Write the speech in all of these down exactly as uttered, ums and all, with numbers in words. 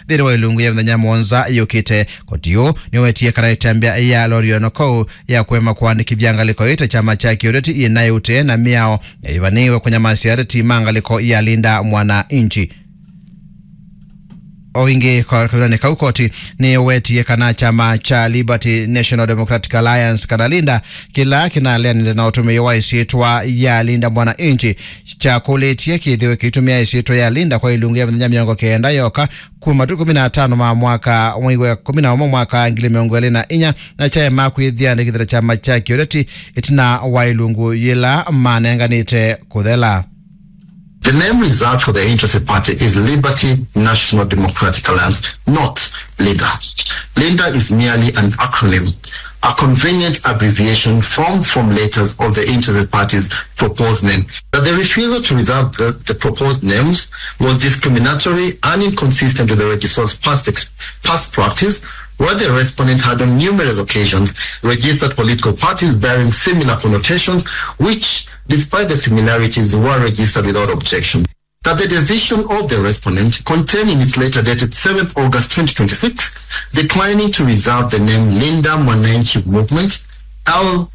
nthĩnĩ wa ilungu ya mĩthenya mũonza yũkĩte. Koti ũũ nĩwetie kana ĩtambya ya Lorraine Kou ya kũema kũandĩkĩthya ngalĩko ĩĩ ta kyama kya kĩũteti ĩnaĩ ũtee na mĩao ĩvanĩĩwe kũnyamasya ateti ma ngalĩko ya Linda Mwananchi. O ĩngĩ, kwa kavindanĩ kau, koti nĩwetie kana kyama kya Liberty National Democratic Alliance, kana Linda, kĩla kĩnaleanĩte na ũtũmĩi wa ĩsyĩtwa ya Linda Mwananchi, kyakũlĩtye kĩthĩwe kĩitũmĩa ĩsyĩtwa ya Linda kwa ilungu ya mĩthenya mĩongo kenda yoka kuma matukũ kũmi na atano ma mwaka, mwei wa kũmi na ũmwe, mwaka wa ngili mĩongo ĩlĩ na inya, na kyaema kwĩyĩandĩkĩthya ta kyama kya kĩũteti ĩtina wa ilungu yĩla manenganĩte kũthela. The name reserved for the interested party is Liberty National Democratic Alliance, not Linda. Linda is merely an acronym, a convenient abbreviation formed from letters of the interested party's proposed name. That the refusal to reserve the, the proposed names was discriminatory and inconsistent with the registrar's past ex-, past practice, where the respondent had on numerous occasions registered political parties bearing similar connotations, which, despite the similarities, were registered without objection. That the decision of the respondent, contained in its letter dated seventh August twenty twenty-six, declining to reserve the name Linda Mwananchi Movement, L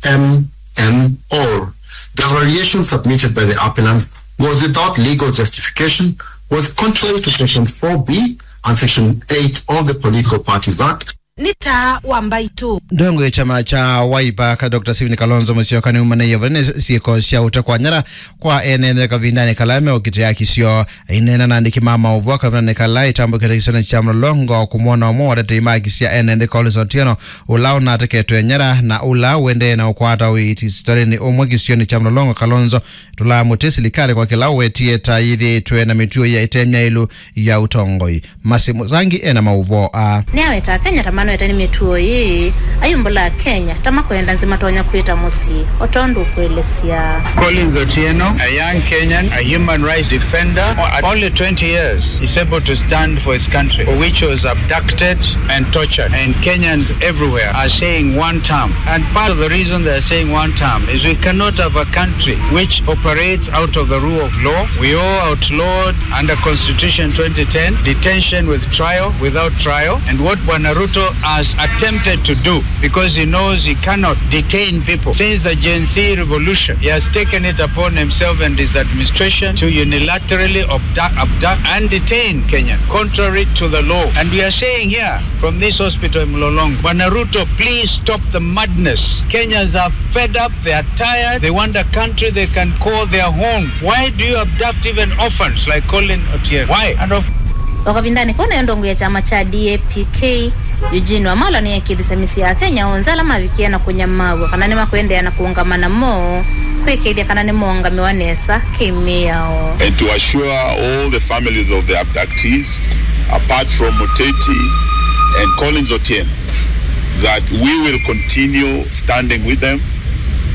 M M, or the variation submitted by the appellants was without legal justification, was contrary to Section four B and Section eight of the Political Parties Act. Nĩ taa wa mbaitũ. Ndongo ya kyama kya Wiper ka Doctor Stephen Kalonzo Musyoka nĩumanĩie vanene syĩko sya ũtekwa nyara kwa ene nthĩ kavindanĩ kala meũkitĩa haki syoo. Aineena na andĩki ma maũvoo kavindanĩ kala ĩtambũkĩte kĩsionĩ kya Mlolongo kũmwona ũmwe wa atetei ma haki sya ene nthĩ Collins Otieno, ũla ũnateketwe nyara na ũla ũendee na ũkwata ũiiti sivitalĩnĩ ũmwe kĩsionĩ kya Mlolongo. Kalonzo tũlamũtĩ silikalĩ kwa kĩla ũwetie ta yĩthĩĩtwe na mĩtuo ya ĩtemya ĩlũ ya ũtongoi. Mercy Mũsangi ena maũvoo aa. Nĩaweta Akenya ta manwete nĩ mĩtuo ĩĩ, ayumbũla Akenya ta makwenda nzĩ matonya kwĩta mũsyĩ, o tondũ ũkũelesya. Collins Otieno, a young Kenyan, a human rights defender, at only twenty years, is able to stand for his country, for which he was abducted and tortured. And Kenyans everywhere are saying one term. And part of the reason they are saying one term is we cannot have a country which operates out of the rule of law. We all outlawed under Constitution twenty ten detention with trial, without trial, and what Bwana Ruto has attempted to do, because he knows he cannot detain people. Since the Gen Z revolution, he has taken it upon himself and his administration to unilaterally abduct, abduct and detain Kenyans, contrary to the law. And we are saying here from this hospital in Mlolongo, Bwana Ruto, please stop the madness. Kenyans are fed up, they are tired, they want a country they can call their home. Why do you abduct even orphans like Colin Otieno? Why? And of O kavindanĩ kau, nayo ndongo ya kyama kya D A P K, Eugene Wamalwa, nĩekĩthisye mĩsyĩ ya Akenya onthe ala mavikie na kũnyamaaw'a kana nĩmakũendeea na kũũngama namo, kwĩkĩĩthya kana nĩmoongamĩwa nesa kĩ-mĩao. And to assure all the families of the abductees, apart from Muteti and Collins Otieno, that we will continue standing with them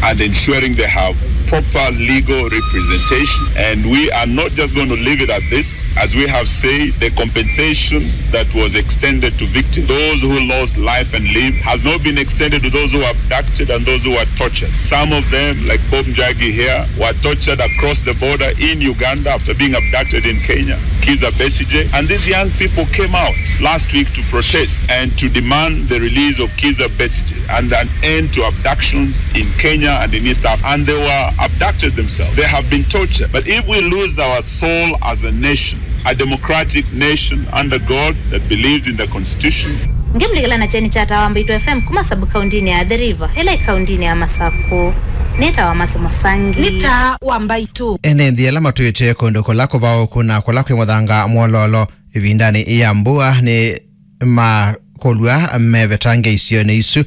and ensuring they have proper legal representation. And we are not just going to leave it at this. As we have said, the compensation that was extended to victims, those who lost life and limb, has not been extended to those who were abducted and those who were tortured. Some of them, like Bob Njagi here, were tortured across the border in Uganda after being abducted in Kenya. Kizza Besigye. And these young people came out last week to protest and to demand the release of Kizza Besigye and an end to abductions in Kenya and in East Africa. And they were abducted themselves. They have been tortured. But if we lose our soul as a nation, a democratic nation under God that believes in the Constitution. Ngĩmũlikĩla na kyeni kya Taa wa Mbaitũ F M kuma sub-kauntinĩ ya Athi River, ĩla ĩ kauntinĩ ya Masakũ. Nĩ Taa wa Mercy Mũsangi. Nĩ Taa wa Mbaitũ. Ene nthĩ ala matwĩte kũndũ kũla kũvaũku na kũla kwĩ mũthanga mwololo ĩvindanĩ ya mbua nĩ makũlw'a mevetange isionĩ isu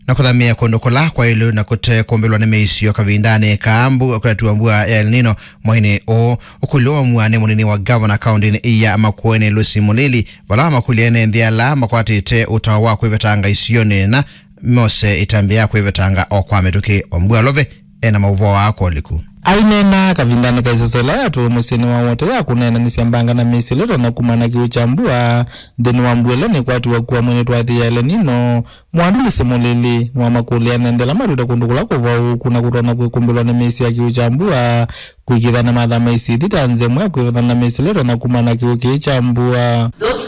na kũthamĩĩa kũndũ kũla kwaĩlu na kũte kũmbĩlwa nĩ mĩisyo kavindanĩ ka mbu-, kũtatw'a mbua ya El Nino mweinĩ ũũ. Ũkũlyo wa mua nĩ mũnini wa gavana kauntinĩ ya Makueni, Lucy Mulili, vala wamakũlya ene nthĩ ala makwatĩte ũtao wa kwĩvetanga isionĩ na mose ĩtambya ya kwĩvetanga o kwa mĩtũkĩ. Wambua Love ena maũvoo aa kwa ũliku. Aineena kavindanĩ ka ĩsese ĩla yatũwe mũsyĩnĩ wa Wote ya kũneenanĩsya mbanga na mĩisyo ĩla ĩtonya kumana na kĩw'ũ kya mbua nthĩnĩ wa mbua ĩla nĩkwatiwe kũa mweinĩ twathĩ ya El Nino, Mwandu Lucy Mulili nĩwamakũlya ene nthĩ ala matwĩte kũndũ kũla kũvaũũku na kũtonya kwĩkũmbĩlwa nĩ mĩisyo ya kĩw'ũ kya mbua kwĩkĩĩthya nĩmathama isio ithi ta nzĩa ĩmwe ya kwĩvethana na mĩisyo ĩla ĩtonya kumana na kĩw'ũ kĩĩ kya mbua. Those